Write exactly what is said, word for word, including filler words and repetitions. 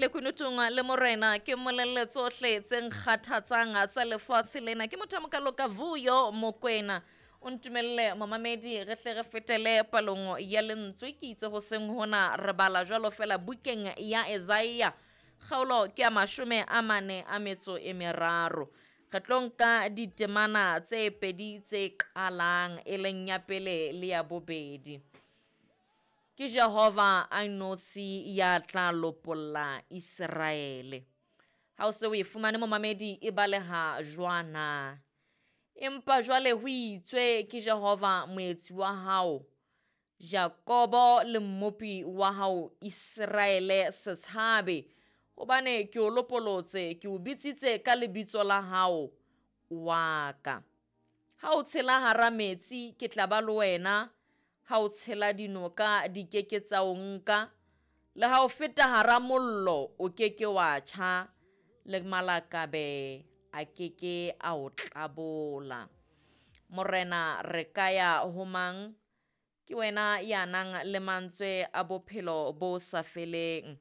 lekunutung le morena ke mmolelle tsohle tse nkgathatsang tsa lefatshe lena. Ke motho a mokalo ka Vuyo Mokwena. O ntumelle momamedi re hle re fetele palong ya lentswe. Ke itse ho seng hona re bala jwalo fela bukeng ya Isaiah kgaolo ke ya mashome a mane a metso e meraro. Re tlo nka ditemana tse pedi tse qalang e leng ya pele le ya bobedi. Ke Jehova a notshi ya tla lopolla Iseraele. Ha o se o e fumane momamedi e baleha jwana. Empa jwale ho itswe ke Jehova moetsi wa hao, Jakobo le mmopi wa hao Iseraele, se tshabe, hobane ke o lopolotse, ke o bitsitse ka lebitso la hao wa ka. Ha o tshela hara metsi, ke tla ba le wena. Ha o tshela dinoka, di keke tsa o nka. Le ha o feta hara mollo, o keke wa tjha, le malakabe a keke a o tlabola. Morena re ka ya ho mang? Ke wena ya nang le mantswe a bophelo bo sa feleng.